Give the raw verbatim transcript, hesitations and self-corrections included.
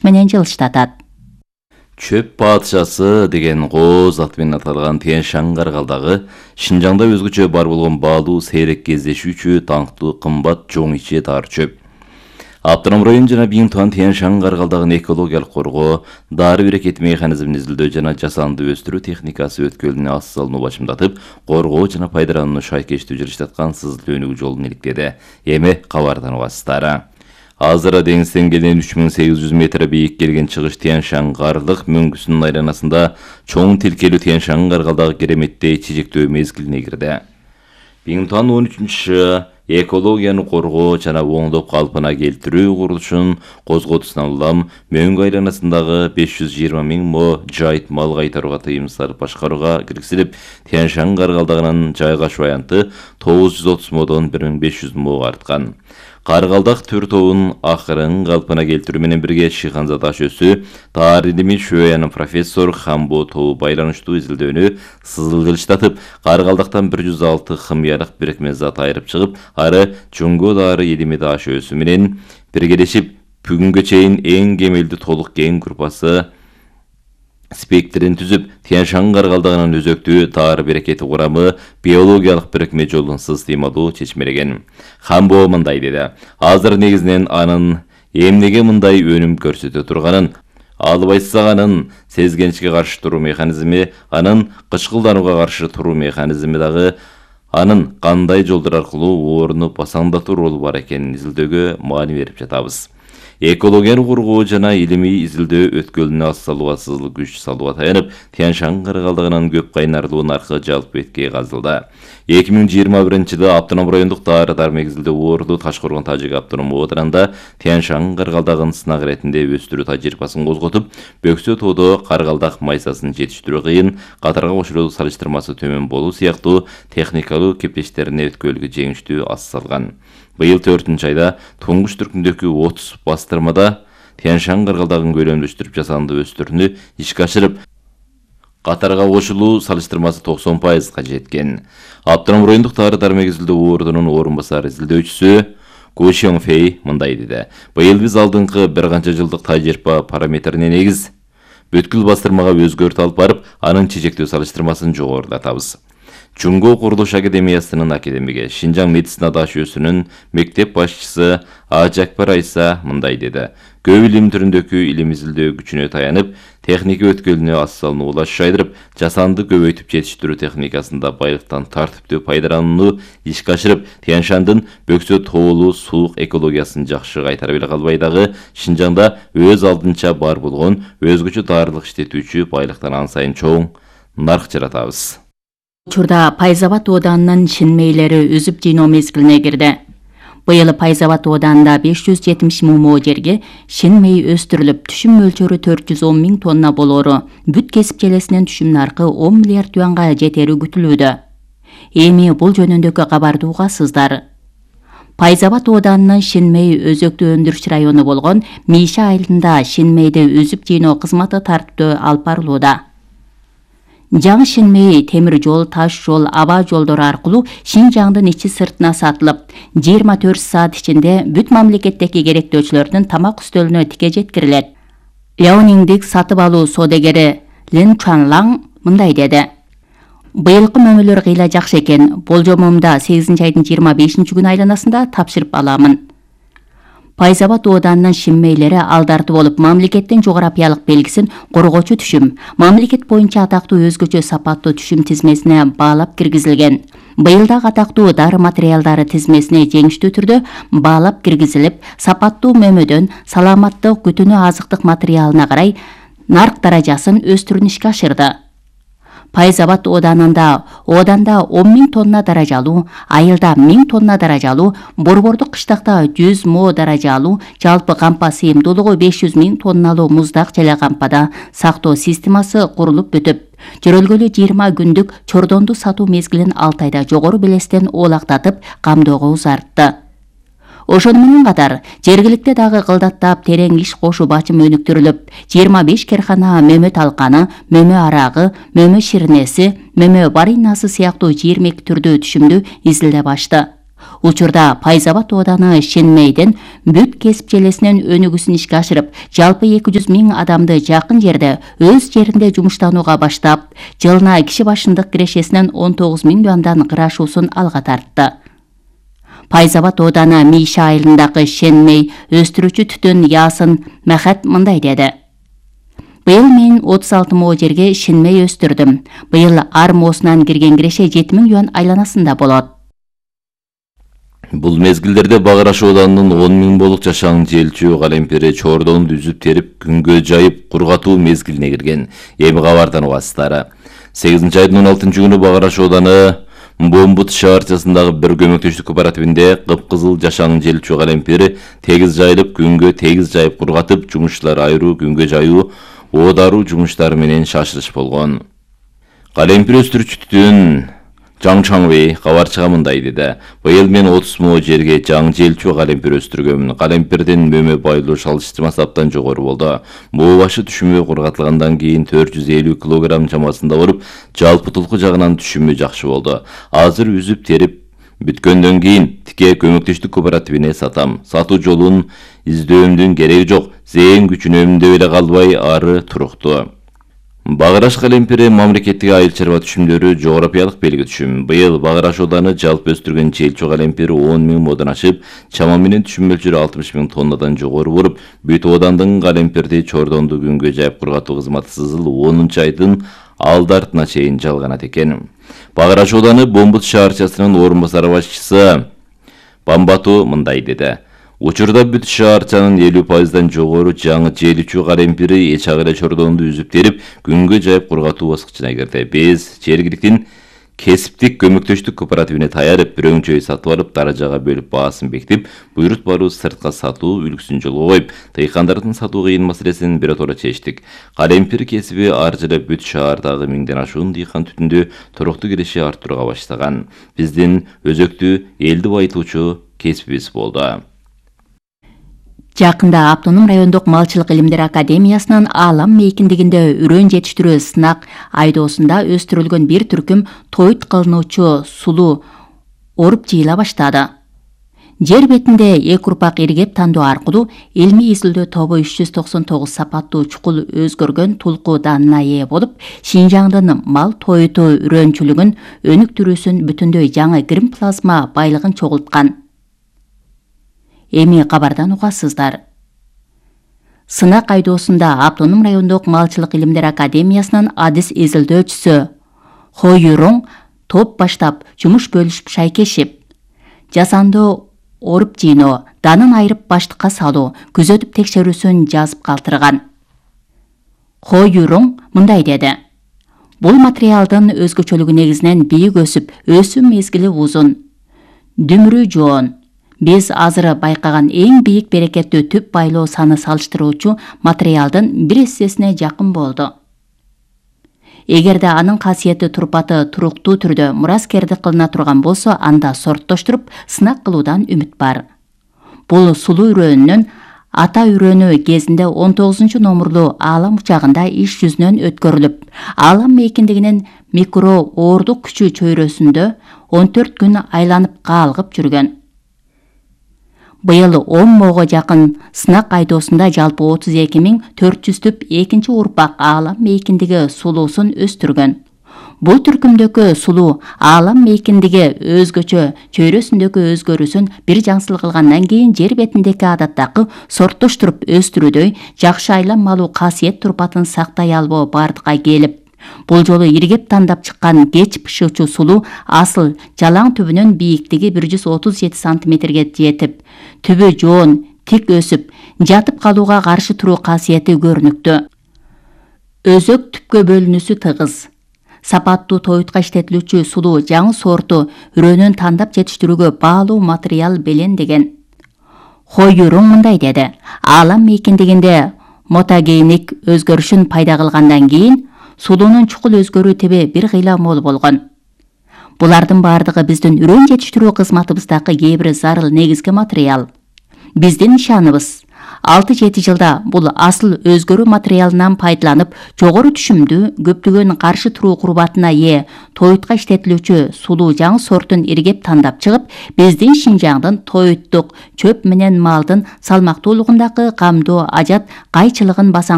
менен жылыштатат. Чөп падышасы деген кооз аты менен аталган Тянь-Шань каргалдагы Шинжаңда өзгөчө бар болгон баалуу сейрек кездешүүчү таңктуу кымбат жоң иче таар чөп. Автоном район жана Биңтуан Тянь-Шань каргалдагын экологиялык коргоо, дары берекет механизмин изилдөө жана жасанды өстүрүү техникасы өткөлүнө аз салууну башымдатып, коргоо жана пайдаланууну шайкештүү жылыштаткан Сызыл өнүгүү жолун иликтеди. Эми кабардан угасыздар. Азыр деңиз деңгээлинен үч миң сегиз жүз метр бийик келген чыгыш Тянь-Шань карлык мөңгүсүнүн айланасында чоң тилкелүү Тянь-Шань каргалдагы кереметтей чечектөө мезгилине кирди. Биңтуан он үчүнчү экологияны коргоо жана оңдоп калпына келтирүү курулушун козготусунан улам мөңгү айланасындагы беш жүз жыйырма миң мо жайыт мал кайтарууга тыйым салып башкарууга киргизилип, Тянь-Шань каргалдагынын жайгашуу аянты тогуз жүз отуз модон бир миң беш жүз мого арткан. Каргалдак төр тобун акырын калпына келтирүү менен бирге Шиханза таш өсү, таар илими шөянын профессор Хамбо тобу байланыштуу изилдөөнү Сызыл жылыштатып, Каргалдактан бир жүз алты химиялык бирикме зат айырып чыгып, ары Жөнгө дары илими таш өсү менен биргелешип, бүгүнгө чейин эң кемелдүү толук кең группасы спектрин түзүп, Тянь-Шань каргалдагынын өзөктүү таар берекети курамы биологиялык бирикме жолунсуз ыймалуу чечмелеген. Хамбо мындай деди: азыр негизинен анын эмнеге мындай өнүм көрсөтө турганын, албайсызаганын, сезгенчке каршы туруу механизми, анын кычкылданууга каршы туруу механизми дагы, анын кандай жолдор аркылуу ооруну басаңдатуу ролу бар экенин изилдөөгө маани берип жатабыз. Экологияны коргоо жана илимий изилдөө өткөлүнө аз салууга Сызыл күч салууга таянып, Тянь-Шань каргалдагынын көп кайнарлуу наркы жалпы беткей казылды. эки миң жыйырма биринчи жылы автоном райондук дары дармек изилдөө орду Ташкоргон Тажик автоном оодарында Тянь-Шань каргалдагын сынак иретинде өстүрүү тажрыйбасын козготуп, Бөксө тоодо каргалдак майсасын жетиштирүү кыйын, катарга кошулуу салыштырмасы төмөн болуу сыяктуу техникалуу кептештерине өткөлгө жеңиштүү аз салган. Быйыл төртүнчү айда туңгуч түркүндөгү отуз бастырмада Тянь-Шань каргалдагын көлөмдөштүрүп жасанды өстүрүүнү ишке ашырып, катарга кошулуу салыштырмасы токсон пайызга жеткен. Автоном райондук дары дармек изилдөө ордунун орун басары изилдөөчүсү Ку Шёңфэй мындай деди: быйыл биз алдыңкы бир канча жылдык тажрыйба параметрине негиз бүткүл бастырмага өзгөртүү алып барып, анын чечектөө салыштырмасын жогорулатабыз. Жөнгө курулуш академиясынын академиги, Шинжаң медицина даш өсүнүн мектеп башчысы Ажакбар Айса мындай деди: көп илим түрүндөгү илим изилдөө күчүнө таянып, техника өткөлүнө аз салууну улаш жайдырып, жасанды көбөйтүп жетиштирүү техникасында байлыктан тартиптүү пайдаланууну ишке ашырып, Тянь-Шандын Бөксө тоолуу суук экологиясын жакшы кайтара биле калбай дагы Шинжаңда өз алдынча бар болгон өзгөчө даарылык иштетүүчү байлыктан ан сайын чоң нарк жаратабыз. Учурда Пайзабад ооданынын шинмейлери үзүп жыйноо мезгилине кирди. Быйыл Пайзабад ооданында беш жүз жетимиш миң мо жерге шинмей өстүрүлүп, түшүм мөлчөрү төрт жүз он миң тонна болоору, бүт кесип желесинен түшүм наркы он миллиард юанга жетери күтүлүүдө. Эми бул жөнүндөгү кабарды угасыздар. Пайзабад ооданынын шинмей өзөктүү өндүрүш району болгон Миша айылында шинмейди үзүп жыйноо кызматы тартиптүү алып барылууда. Жаңы шинмей темир жол, таш жол, аба жолдору аркылуу Шинжаңдын ичи сыртына сатылып, жыйырма төрт саат ичинде бүт мамлекеттеги керектөөчүлөрдүн тамак үстөлүнө тике жеткирилет. Ляониңдик сатып алуу соодагери Лин Чанлаң мындай деди: быйылкы мөмөлөр кыйла жакшы экен, болжомумда сегизинчи айдын жыйырма бешинчи күнү айланасында тапшырып аламын. Пайзабад ооданынын шинмейлери алдарты болуп, мамлекеттин жогорапиялык белгисин коргоочу түшүм, мамлекет боюнча атактуу өзгөчө сапаттуу түшүм тизмесине баалап киргизилген. Быйыл дагы атактуу дары материалдары тизмесине жеңиштүү түрдө баалап киргизилип, сапаттуу мөмөдөн саламаттык күтүнүү азыктык материалына карай нарк даражасын өстүрүүнү ишке ашырды. Пайзабад ооданында ооданда он миң тонна даражалуу, айылда миң тонна даражалуу, Борбордук кыштакта жүз мо даражалуу, жалпы кампа сыйымдуулугу беш жүз миң тонналуу муздак желе кампада сактоо системасы курулуп бүтүп, жөрөлгөлү жыйырма күндүк чордонду сатуу мезгилин алты айда жогору белестен оолактатып, камдөөгө узартты. Ошону менен катар, жергиликте дагы кылдаттап терең иш кошуу бачым өнүктүрүлүп, жыйырма беш керкана мөмө талканы, мөмө арагы, мөмө ширнеси, мөмө баринасы сыяктуу жыйырма эки түрдүү түшүмдү изилдеп ачты. Учурда Пайзабад ооданы Шенмейден бүт кесип желесинен өнүгүүсүн ишке ашырып, жалпы эки жүз миң адамды жакын жерде өз жеринде жумуштанууга баштап, жылына киши башындык кирешесинен он тогуз миң юандан кырашуусун алга тартты. Пайзабад ооданы Миша айылындагы Шенмей өстүрүүчү түтүн Ясын Махат мындай деди. Быйыл мен отуз алты мо жерге Шенмей өстүрдүм. Быйыл ар моосунан кирген киреше жети миң юан айланасында болот. Бул мезгилдерде Багыраш ооданынын он миң болук жашаң желчү калемпери чордонду үзүп терип күнгө жайып кургатуу мезгилине кирген. Эми кабардан угасыздар. сегизинчи айдын он алтынчы күнү Багыраш ооданы Бомбут шаарчасындагы бир көмөктөштүк кооперативинде кыпкызыл жашаң желчү калемпери тегиз жайылып күнгө тегиз жайып кургатып, жумушчулар айруу, күнгө жаюу, оодаруу жумуштары менен шашырыш болгон. Калемпир өстүрүүчү түтүн Жаң Чаңбей кабарчыга мындай деди. Быйыл мен отуз мо жерге жаң желчү калемпир өстүргөмүн. Калемпирдин мөмө байлоо салыштырмасы абдан жогору болду. Моо башы түшүмө кургатылгандан кийин төрт жүз элүү килограмм чамасында болуп, жалпы тулку жагынан түшүмү жакшы болду. Азыр үзүп терип бүткөндөн кийин тике көмөктөштүк кооперативине сатам. Сатуу жолун издөөмдүн кереги жок. Зээн күчүнөм деп эле калбай ары туруктуу. Багыраш калемпири мамлекеттик айыл чарба түшүмдөрү жогорапиялык белги түшүм. Быйыл Багыраш ооданы жалпы өстүргөн желчү калемпири он миң модон ашып, чама менен түшүм мөлчөрү алтымыш миң тоннадан жогору болуп, бүт оодандын калемпирди чордонду күнгө жайып кургатуу кызматы сызыл онунчу айдын алды артына чейин жалганат экен. Багыраш ооданы Бомбут шаарчасынын орун басар башчысы Бамбату мындай деди. Учурда бүт шаарчанын элүү пайыздан жогору жаңы желчү калемпири эч агыра чордонду үзүп терип, күнгө жайып кургатуу баскычына кирди. Биз жергиликтин кесиптик көмөктөштүк кооперативине таярып, бирөөңчөй сатып алып, даражага бөлүп баасын бекитип, буйрут баруу сыртка сатуу үлгүсүн жолго коюп, тыйкандардын сатуу кыйын маселесин биротоло чечтик. Калемпир кесиби ар жылы бүт шаардагы миңден ашуун дыйкан түтүндү туруктуу киреше арттырууга баштаган. Биздин өзөктүү элди байытуучу кесибибиз болду. Жакында Автоном райондук малчылык илимдер академиясынын Аалам мейкиндигинде үрөн жетиштирүү сынак айдоосунда өстүрүлгөн бир түркүм тоют кылынуучу сулуу оруп жыйыла баштады. Жер бетинде эки урпак иргеп тандоо аркылуу илмий изилдөө тобу үч жүз токсон тогуз сапаттуу чукул өзгөргөн тулку даанына ээ болуп, Шинжаңдын мал тоюту үрөнчүлүгүн өнүктүрүүсүн бүтүндөй жаңы грим плазма байлыгын чогулткан. Эми кабардан угасыздар. Сынак айдоосунда Автоном райондук малчылык илимдер академиясынын адис изилдөөчүсү Хойюроң топ баштап жумуш бөлүшүп шайкешип, жасанды оруп жыйноо, данын айырып баштыкка салуу, күзөтүп текшерүүсүн жазып калтырган. Хойюроң мындай деди. Бул материалдын өзгөчөлүгү негизинен бийик өсүп, өсүү мезгили узун, дүмүрү жоон. Биз азыр байкаган эң бийик берекеттүү түп байлоо саны салыштыруучу материалдын бир эссесине жакын болду. Эгерде анын касиети турпаты туруктуу түрдө мураскердик кылына турган болсо, анда сорттоштуруп сынак кылуудан үмүт бар. Бул сулуу үрөөнүнүн ата үрөөнү кезинде он тогузунчу номурлуу Аалам учагында иш жүзүнөн өткөрүлүп, Аалам мейкиндигинин микро оордук күчү чөйрөсүндө он төрт күн айланып каалгып жүргөн. Быйыл он моого жакын сынак айдоосунда жалпы отуз эки миң төрт жүз түп экинчи урпак Аалам мейкиндиги сулуусун өстүргөн. Бул түркүмдөгү сулуу Аалам мейкиндиги өзгөчө чөйрөсүндөгү өзгөрүүсүн бир жаңсыл кылгандан кийин жер бетиндеги адаттагы сорттоштуруп өстүрүүдөй жакшы айланмалуу касиет турпатын сактай албоо бардыкка келип, бул жолу иргеп тандап чыккан кеч бышуучу сулуу асыл жалаң түбүнүн бийиктиги бир жүз отуз жети сантиметрге жетип, түбү жоон, тик өсүп, жатып калууга каршы туруу касиети көрүнүктүү. Өзөк түпкө бөлүнүүсү тыгыз. Сапаттуу тоютка иштетилүүчү сулуу жаңы сорту үрөөнүн тандап жетиштирүүгө баалуу материал белендеген. Хойюроң мындай деди. Аалам мейкиндигинде мотогеник өзгөрүшүн пайда кылгандан кийин сулуунун чукул өзгөрүү тебе бир кыйла мол болгон. Булардын бардыгы биздин үрөн жетиштирүү кызматыбыздагы кээ бир зарыл негизги материал. Биздин нишаныбыз алты жети жылда бул асыл өзгөрүү материалынан пайдаланып, жогору түшүмдүү, көптөгөн каршы туруу курбатына ээ тоютка иштетилүүчү сулуу жаңы сортун иргеп тандап чыгып, биздин Шинжаңдын тоюттук чөп менен малдын салмактуулугундагы камдоо ажат кайчылыгын басаң